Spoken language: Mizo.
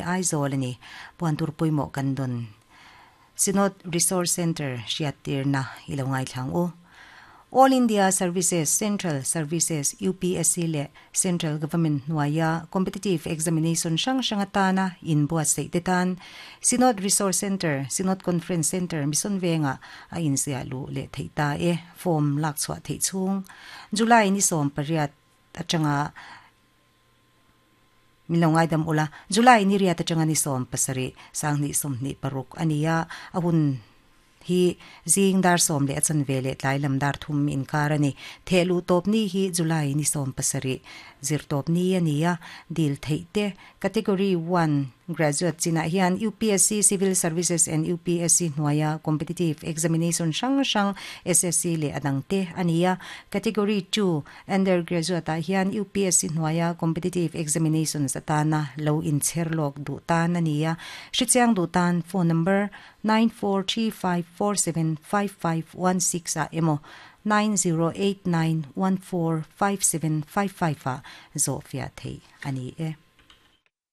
Aizawl a ni. Puan tur pawimawh kan dawn. Synod Resource Centre hriattirna i lo ngaithla ang u. All India Services, Central Services, UPSC leh Central Government hnuaia Competitive Examination hrang hrang atana inbuatsaih te tan Synod Resource Centre, Synod Conference Centre, Mission Vengah a inziah luh leh theih ta e. Form lak chhuah theih chhung July ni 18 atanga Min lo ngaidam ula, July ni riat atanga ni 17, 2026 a ni a, a hun hi zing dar sawm leh a chanve leh tlai lam dar thum inkar a ni. Theh luh tawp ni hi July ni 17, zir tawp ni a ni a, dil theih te Category one Graduate chinah hian UPSC Civil Services and UPSC hnuaia Competitive Examination hrang hrang SSC leh a dangte a ni a. Category two Undergraduate ah hian UPSC hnuaia Competitive Examinations atana lo inchher lawk duh tan a ni a. Hrichiang duh tan phone number 9435475516 ah emaw 9089145755 ah zawhfiah theih a ni e.